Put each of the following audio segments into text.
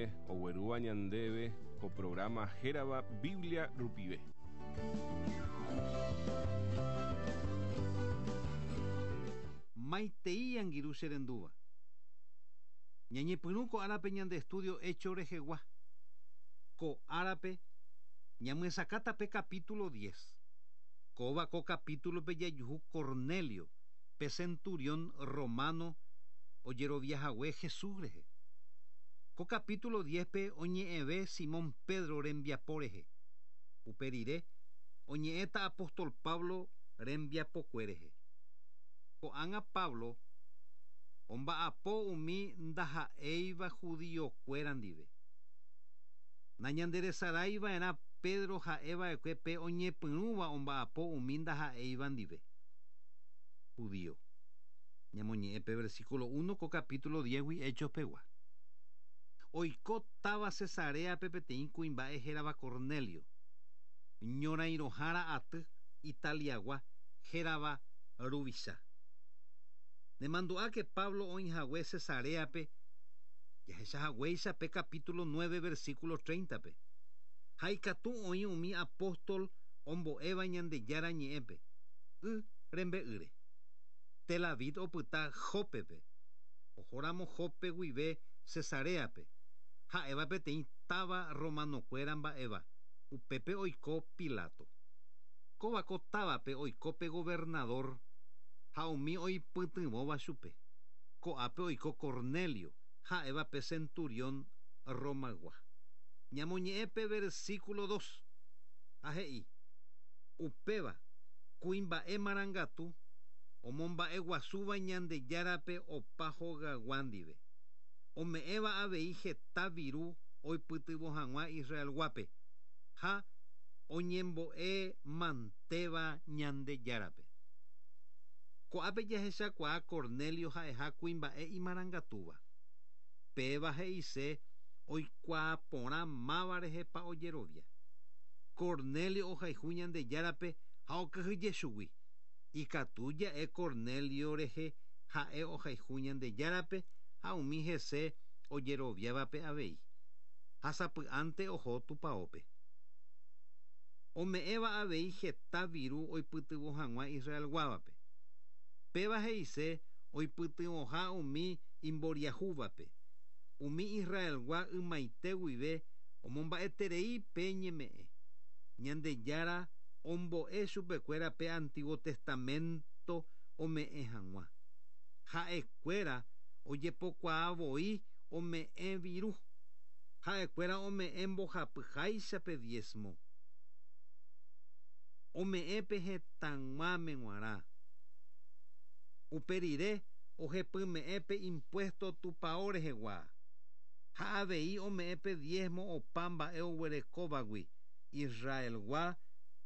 Ramírez oguerúva ñandéve ko programa hérava Biblia rupive. Maitei angirũ che rendúva. Ñañepyrũ ko árape ñande estudio Hechos rehegua. Ko árape ñamyesakãta pe capítulo diez. Kóva ko capítulo-pe jajuhu Cornelio, pe centurión romano ojerovia hague Jesús rehe. Ko capítulo diez-pe oñe'ẽve Simón Pedro rembiapo rehe. Upe rire, oñe'ẽta apóstol Pablo rembiapokue rehe. Ko'ág̃a Pablo omba'apo umi ndaha'éiva judiokuéra ndive. Nañanderesarái va'erã Pedro ha'e va'ekue pe oñepyrũva omba'apo umi ndaha'éiva ndive. Judío. Ñamoñe'ẽ pe versículo uno ko capítulo diez-gui Hechos pegua. Oiko táva Cesaréape peteĩ kuimba'e hérava Cornelio, ñorairõhára aty Italiagua hérava Ruvicha. Nemandu'áke Pablo oĩ hague Cesaréape jahecha haguéicha pe capítulo nueve versículo treinta-pe. Ha ikatu oĩ umi apóstol ombo'éva Ñandejára Ñe'ẽpe, y rembe'ýre. Tel Aviv opyta Jópepe, ohóramo Jope guive Cesaréape, ha'éva peteĩ táva romanokuéra mba'éva, upépe oiko Pilato. Kóva ko távape oiko pe governadór ha umi oipytyvõva chupe. Ko'ápe oiko Cornelio, ha'éva pe centurión Romaygua. Ñamoñe'ẽ pe versículo dos, ha he'i, Upéva, kuimba'e marangatu, omomba'eguasúva Ñandejárape opa hogaygua ndive, ome'ẽva avei heta viru oipytyvõ hag̃ua Israelguápe, ha oñembo'e mantéva Ñandejárape. Ko'ápe jahechakuaa Cornelio ha'eha kuimba'e imarangatúva. Péva he'ise oikuaa porã máva rehepa ojerovia. Cornelio ohayhu Ñandejárape ha okyhyje chugui. Ikatu ja'e Cornelio rehe ha'e ohayhu Ñandejárape ha umi hese ojeroviávape avei. Ha sapy'ánte oho tupaópe. Ome'ẽva avei heta viru oipytyvõ hag̃ua Israelguávape. Péva he'ise oipytyvõha umi imboriahúvape. Umi Israelgua ymaite guive omomba'eterei pe ñeme'ẽ. Ñandejára ombo'e chupekuéra pe Antiguo Testamento ome'ẽ hag̃ua. Ha'ekuéra ojepokuaa voi ome'ẽ viru. Ha'ekuéra ome'ẽ mbohapyháicha pe diezmo. Ome'ẽ pe hetãg̃uáme g̃uarã. Upe rire ohepyme'ẽ pe impuesto tupao rehegua. Ha avei ome'ẽ pe diezmo opa mba'e oguerekóvagui, Israelgua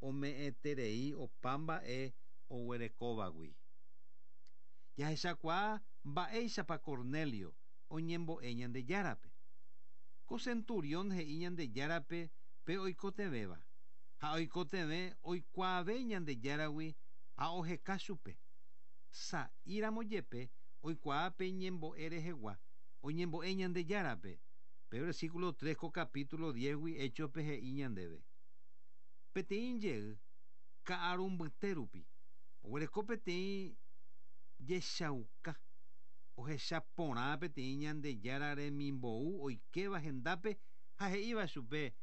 ome'ẽterei opa mba'e oguerekóvagui. Jahechakuaa mba'éichapa Cornelio oñembo'e Ñandejárape. Ko centurión he'i Ñandejárape pe oikotevẽva, ha oikotevẽ oikuaave Ñandejáragui ha oheka chupe. Sa'íramo jepe oikuaa pe ñembo'e rehegua, oñembo'e Ñandejárape. Pe versículo tres ko capítulo diez-gui Héchospe he'i ñandéve, Peteĩ jey, ka'aru mbyte rupi, oguereko peteĩ jechauka, ohecha porã peteĩ Ñandejára remimbou oikéva hendápe ha he'íva chupe,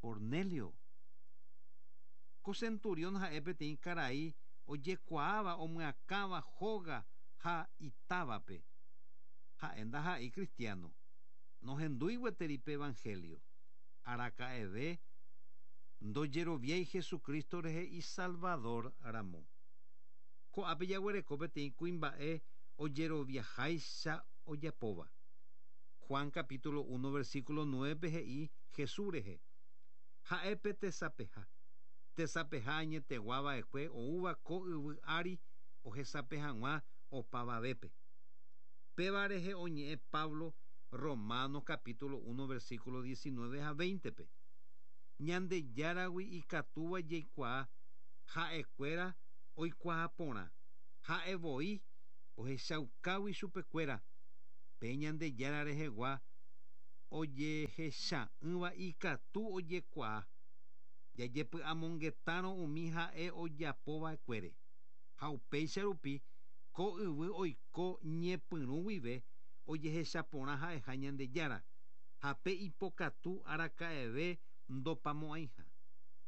Cornelio. Ko centurión ha'e peteĩ karai ojekuaáva omyakãva hóga ha itávape. Ha'e ndaha'éi cristiano. Nohendúi gueteri pe evangelio. Araka'eve ndojeroviái Jesucristo rehe Isalvador ramo. Ko'ápe jaguereko peteĩ kuimba'e ojeroviaháicha ojapóva. Juan capítulo uno versículo nuévepe he'i Jesús rehe, Ha'e pe tesapeha. Tesapeha añetegua va'ekue oúva ko yvy ári ohesape hag̃ua opavavépe. Péva rehe oñe'ẽ Pablo Romanos capítulo uno versículo diecinueve ha veinte-pe. Ñandejáragui ikatúva jaikuaa ha'ekuéra oikuaa porã, ha'e voi ohechaukágui chupekuéra pe Ñandejára rehegua Ojehecha'ỹva ikatu ojekuaa, jajepy'amongetárõ umi ha'e ojapova'ekuére. Ha upéicha rupi ko yvy oiko ñepyrũ guive ojehecha porã ha'eha Ñandejára, ha pe ipokatu araka'eve ndopamo'ãiha.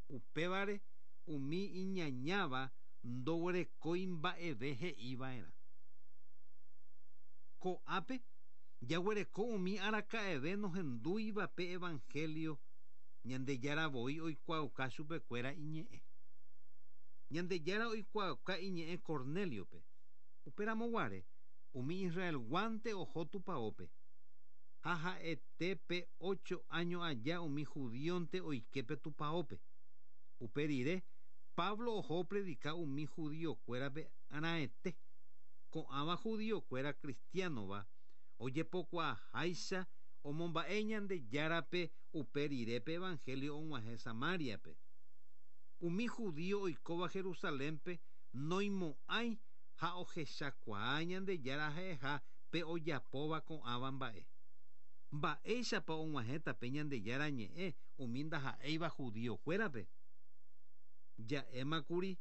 Upévare umi iñañáva ndoguerekói mba'eve he'iva'erã. Ko'ápe jaguereko umi araka'eve nohendúiva pe evangelio, Ñandejára voi oikuaauka chupekuéra iñe'ẽ. Ñandejára oikuaauka iñe'ẽ Cornéliope. Upéramo guare, umi Israelguánte oho tupaópe. Ha ha'ete pe ocho áño aja umi judíonte oike pe tupaópe. Upe rire, Pablo oho opredika umi judiokuérape raẽte. Ko'ãva judiokuéra cristiánova ojepokuaaháicha omomba'e Ñandejárape upe rire pe evangelio og̃uahẽ Samáriape. Umi judío oikóva Jerusalénpe noimo'ãi ha ohechakuaa Ñandejára ha'eha pe ojapóva ko'ãva mba'e. Mba'éichapa og̃uahẽta pe Ñandejára ñe'ẽ umi ndaha'éiva judiokuérape? Ja'émakuri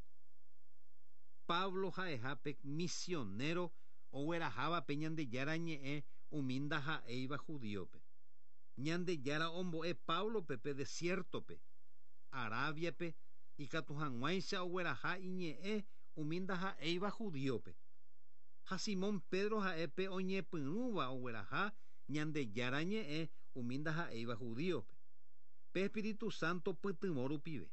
Pablo ha'eha pe misionero ogueraháva pe Ñandejára ñe'ẽ umi ndaha'éiva judíope. Ñandejára ombo'e Páblope pe desiértope, Arábiape, ikatu hag̃uáicha ogueraha iñe'ẽ umi ndaha'éiva judíope. Ha Simón Pedro ha'e pe oñepyrũva ogueraha Ñandejára ñe'ẽ umi ndaha'éiva judíope, pe espíritu sánto pytyvõ rupive.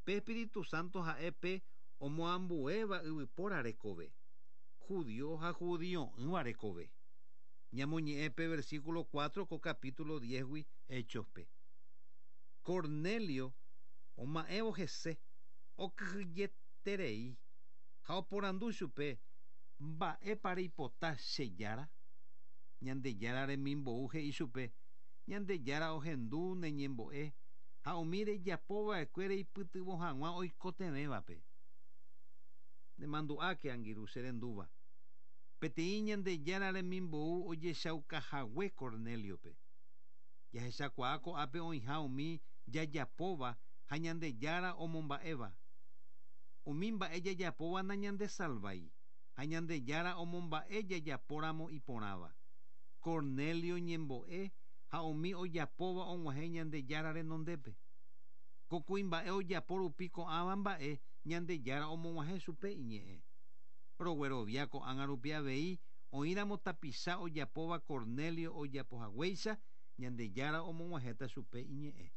Pe espíritu sánto ha'e pe omoambuéva yvypóra rekove, judío ha judio'ỹva rekove. Ñamoñe'ẽ pe versículo 4 ko capítulo 10-gui Héchospe. Cornelio oma'ẽvo hese, okyhyjeterei ha oporandu chupe, Mba'épa reipota che Jára? Ñandejára remimbou he'i chupe, Ñandejára ohendu ne ñembo'e ha umi rejapo va'ekue reipytyvõ hag̃ua oikotevẽvape. Nemandu'áke, angirũ che rendúva, peteĩ Ñandejára remimbou ojechaukahague Cornéliope. Jahechakuaa ko'ápe oĩha umi jajapóva ha Ñandejára omomba'éva. Umi mba'e jajapóva nañandesalvái, ha Ñandejára omomba'e jajapóramo iporãva. Cornelio ñembo'e ha umi ojapóva og̃uahẽ Ñandejára renondépe. Ko kuimba'e ojapo rupi ko'ãva mba'e Ñandejára omog̃uahẽ chupe iñe'ẽ. Roguerovia ko'ág̃a rupi avei oĩramo tapicha ojapóva Cornelio ojapohaguéicha, Ñandejára omog̃uahẽta chupe iñe'ẽ.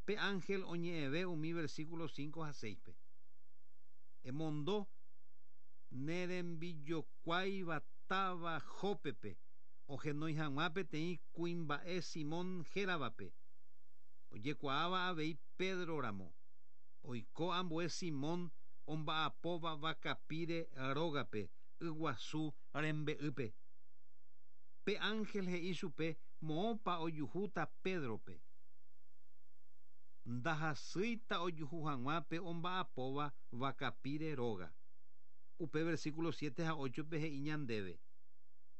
Pe ánhel oñe'ẽve umi versículo 5 ha 6-pe. Emondo ne rembijokuáiva táva Jópepe ohenói hag̃ua peteĩ kuimba'e Simón héravape, ojekuaáva avei Pedro ramo. Oiko ambue Simón omba'apóva vakapíre rógape yguasu rembe'ýpe. Pe ánhel he'i chupe moõpa ojuhúta Pédrope. Ndahasýita ojuhu hag̃ua pe omba'apóva vakapíre róga. Upe versículo 7 ha 8-pe he'i ñandéve,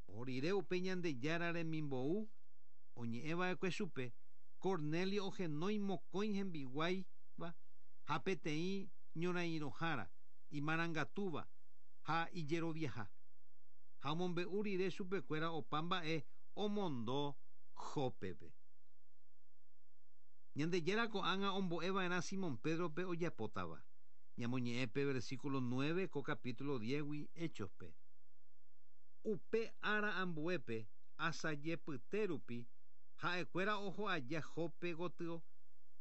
Oho rire upe Ñandejára remimbou oñe'ẽ va'ekue chupe, Cornelio ohenói mokõi hembiguáiva ha peteĩ ñorairõhára imarangatúva ha ijeroviaha. Ha omombe'u rire chupekuéra opa mba'e omondo Jópepe. Ñandejára ko'ág̃a ombo'e va'erã Simón Pédrope ojapótava. Ñamoñe'ẽ pe versículo 9 ko capítulo 10-gui Héchospe. Upe ára ambuépe, asaje pyte rupi, ha'ekuéra oho aja Jope gotyo,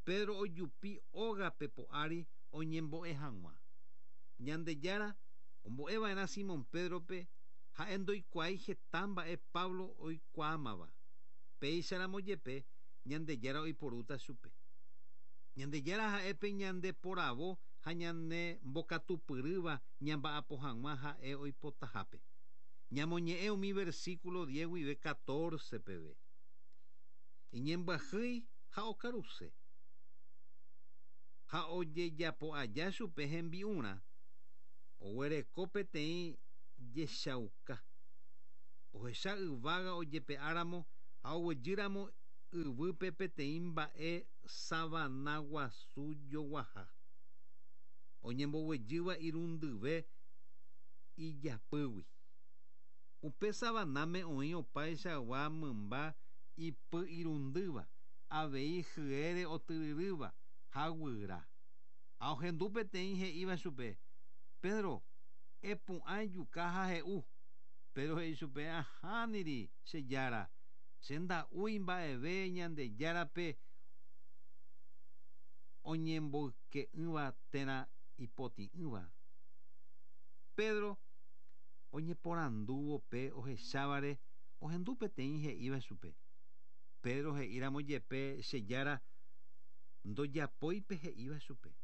Pedro ojupi ógape po'ári oñembo'e hag̃ua. Ñandejára ombo'e va'erã Simón Pédrope ha'e ndoikuaái heta mba'e Pablo oikuaámava. Péicharamo jepe Ñandejára oiporúta chupe. Ñandejára ha'e pe ñande poravo ha ñane mbokatupyrýva ñamba'apo hag̃ua ha'e oipotahápe. Ñamoñe'ẽ umi versículo 10 guive 14 peve. Iñembyahýi ha okaruse. Ha ojejapo aja chupe hembi'urã, oguereko peteĩ jechauka. Ohecha yvága ojepe'áramo Ha oguejýramo yvýpe peteĩ mba'e savana guasu joguaha, oñemboguejýva irundyve ijapýgui. Upe savanáme oĩ opaichagua mymba ipy irundýva, avei hyére otyryrýva ha guyra. Ha ohendu peteĩ he'íva chupe, Pedro, epu'ã ejuka ha he'u. Pedro he'i chupe, Ahániri, che Jára, che nda'úi mba'eve Ñandejárape oñemboyke'ỹva térã ipotĩ'ỹva. Pedro oñeporandúvo pe ohechávare ohendu peteĩ he'íva chupe. Pedro he'íramo jepe che Jára ndojapói pe he'íva chupe.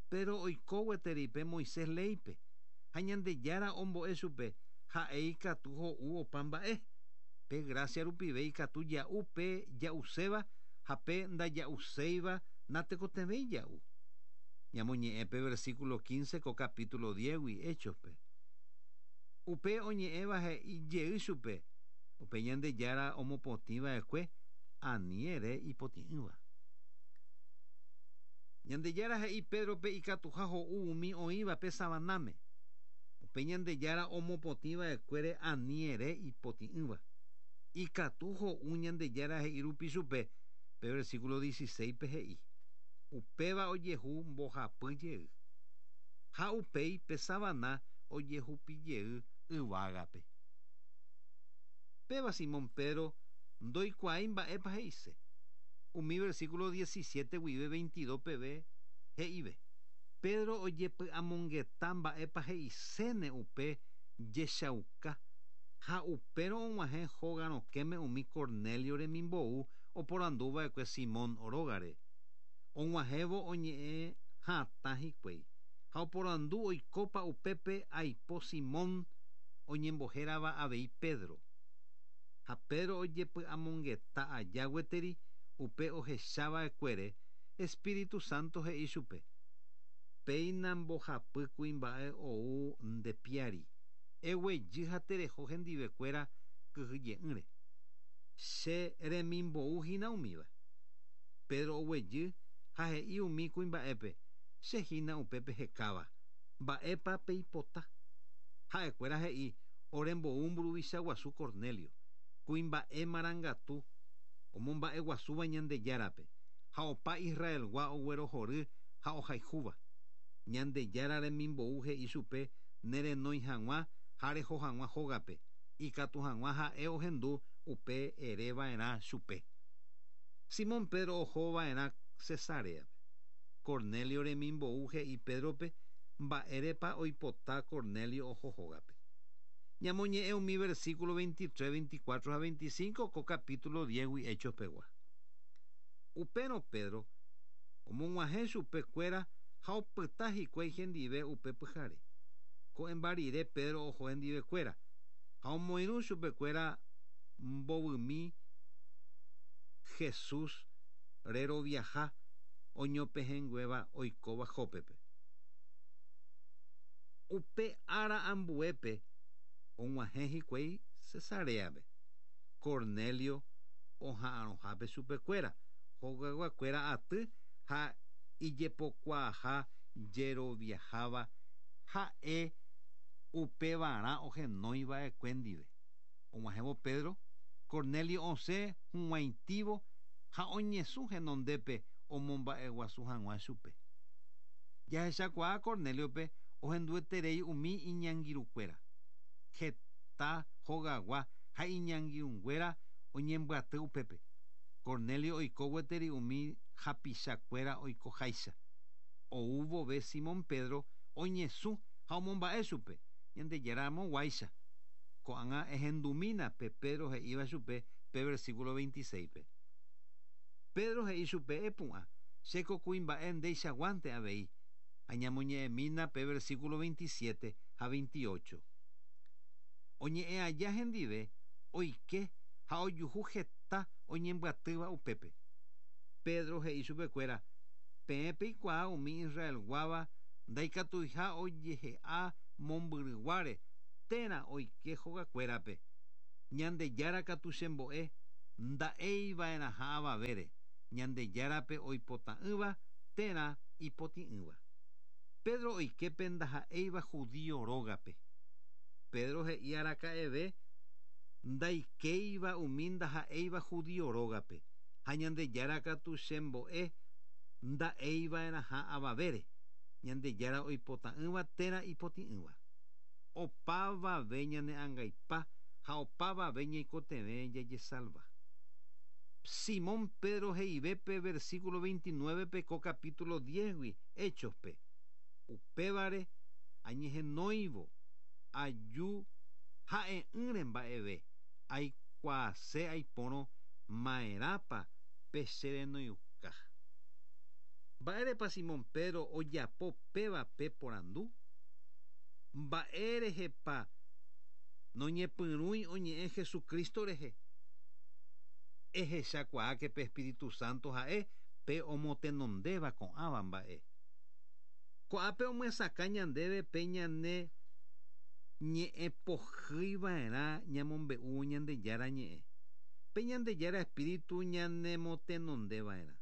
Pedro oiko gueteri pe Moisés léipe, ha Ñandejára ombo'e chupe ha'e ikatu ho'u opa mba'e. Pe grásia rupive ikatu ja'u pe ja'uséva ha pe ndaja'uséiva natekotevẽi ja'u. Ñamoñe'ẽ pe versículo 15 ko capítulo 10-gui Hechos-pe. Upe oñe'ẽva he'i jey chupe, Upe Ñandejára omopotĩ va'ekue ani ere ipotĩ'ỹva. Ñandejára he'i Pédrope ikatuha ho'u umi oĩva pe savanáme. Upe Ñandejára omopotĩ va'ekuére ani ere ipotĩ'ỹva. Ikatu ho'u Ñandejára he'i rupi chupe, pe versículo 16-pe he'i, Upéva ojehu mbohapy jey. Ha upéi pe savana ojehupi jey yvágape. Péva Simón Pedro ndoikuaái mba'épa he'ise. Umi versículo 17 guive 22 peve he'ive. Pedro ojepy'amongeta mba'épa he'iséne upe jechauka, ha upérõ og̃uahẽ hóga rokẽme umi Cornelio remimbou oporanduva'ekue Simón rógare. Og̃uahẽvo oñe'ẽ hatã hikuái, ha oporandu oikópa upépe aipo Simón oñembohérava avei Pedro. Ha Pedro ojepy'amongeta aja gueteri upe ohechava'ekuére, Espíritu Santo he'i chupe, Péina mbohapy kuimba'e ou nde piári, eguejy ha tereho hendivekuéra kyhyje'ỹre. Che remimbou hína umíva. Pedro oguejy ha he'i umi kuimba'épe, Che hína upe pehekáva. Mba'épa peipota? Ha'ekuéra he'i, Ore mbou mburuvicha guasu Cornelio, kuimba'e marangatu omomba'eguasúva Ñandejárape, ha opa Israelgua oguerohory ha ohayhúva. Ñandejára remimbou he'i chupe nerenói hag̃ua ha reho hag̃ua hógape, ikatu hag̃ua ha'e ohendu upe ere va'erã chupe. Simón Pedro oho va'erã Cesaréape. Cornelio remimbou he'i Pédrope mba'érepa oipota Cornelio oho hógape. Ñamoñe'ẽ umi versículo 23, 24 ha 25 ko capítulo 10-gui Hechos pegua. Upérõ Pedro omog̃uahẽ chupe kuéra ha opyta hikuái hendive upe pyhare. Ko'ẽmba rire Pedro oho hendive kuéra, ha omoirũ chupe kuéra mbovymi Jesús reroviaha oñopehẽnguéva oikóva Jópepe. Upe ára ambuépe og̃uahẽ hikuái Cesaréape. Cornelio oha'arõhápe chupekuéra, hogayguakuéra aty ha ijepokuaaha jeroviaháva ha'e upevarã ohenói va'ekue ndive. Og̃uahẽvo Pedro, Cornelio osẽ hug̃uaitĩvo ha oñesũ henondépe omomba'eguasu hag̃ua chupe. Jahechakuaa Cornéliope ohendueterei umi iñangirũkuéra. Heta hogagua ha iñangirũnguéra oñembyaty upépe. Cornelio oiko gueteri umi hapichakuéra oikoháicha. Ou vove Simón Pedro oñesũ ha omomba'e chupe, Ñandejára amoguáicha. Ko'ág̃a ehendumína pe Pedro he'íva chupe pe versículo 26-pe. Pedro he'i chupe, Epu'ã, chéko kuimba'e ndeichaguánte avei. Ha ñamoñe'ẽmína pe versículo 27 ha 28. Oñe'ẽ aja hendive, oike ha ojuhu heta oñembyatýva upépe. Pedro he'i chupekuéra, Peẽ peikuaa umi Israelguáva ndaikatuiha ojehe'a mombyryguáre térã oike hogakuérape. Ñandejára katu chembo'e. Nda'eiva'erãha avavére, Ñandejárape oipota'ỹva térã ipotĩ'ỹva. Pedro oike pe ndaha'éiva judío rógape. Pedro he'i araka'eve ndaikéiva umi ndaha'éiva judío rógape, ha Ñandejára katu chembo'e nda'eiva'erãha avavére, Ñandejára oipota'ỹva térã ipotĩ'ỹva. Opavave ñane angaipa ha opavave ñaikotevẽ jajesalva. Simón Pedro he'ive pe versículo 29 pe ko capítulo 10-gui Hechos-pe. Upévare añehenóivo aju ha'e'ỹre mba'eve aikuaase aipórõ maerãpa pe che renoiuka. Mba'érepa Simón Pedro ojapo péva pe porandu? Mba'érehepa noñepyrũi oñe'ẽ Jesucristo rehe? Ehechakuaáke pe Espíritu Santo ha'e pe omotenondéva ko'ãva mba'e. Ko'ápe omyesakã ñandéve pe ñane ñe'ẽpohýiva'erã ñamombe'úvo Ñandejára ñe'ẽ. Pe Ñandejára Espíritu ñanemotenondeva'erã.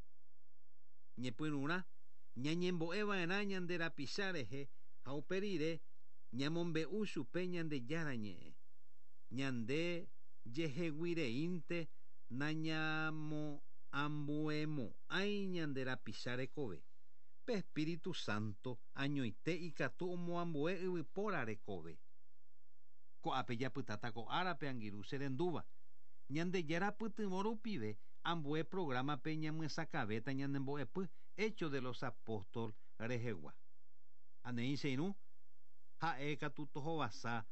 Ñepyrũrã, ñañembo'eva'erã ñande rapicha rehe ha upe rire ñamombe'u chupe Ñandejára ñe'ẽ. Ñande jeheguireínte nañamoambuemo'ãi ñande rapicha rekove. Pe Espíritu Santo añoite ikatu omoambue yvypóra rekove. Ko'ápe japytáta ko árape angirũ che rendúva. Ñandejára pytyvõ rupive ambue programa-pe ñamyesakãvéta ñane mbo'epy Hechos de los Apóstoles rehegua. Ha neĩ che irũ, ha'e katu tohovasa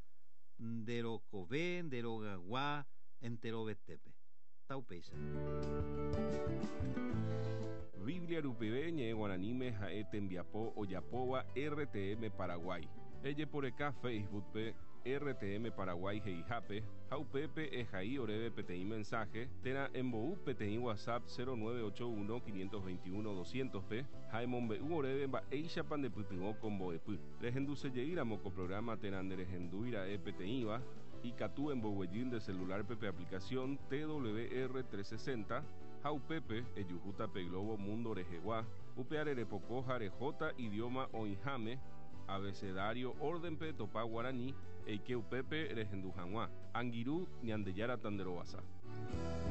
nde rokove, nde rogaygua enterovetépe. Taupéicha. Biblia rupive ñe'ẽ guaraníme ha'e tembiapo ojapóva RTM Paraguay. Ejeporeka Facebook-pe RTM Paraguay he'ihápe ha upépe ehai oréve peteĩ mensaje térã embou peteĩ WhatsApp 0981 521 200-pe ha emombe'u oréve mba'éichapa ndepytyvõ ko mbo'epy. Rehendusejeýramo ko programa térã nderehendúira'e peteĩva, ikatu emboguejy nde celular-pe pe aplicación TWR 360 ha upépe ejuhúta pe globo mundo rehegua, upeare repoko ha rehóta idioma oĩháme, abecedario orden-pe etopa guarani, eike upépe rehendu hag̃ua. Angirũ, Ñandejára tanderovasa.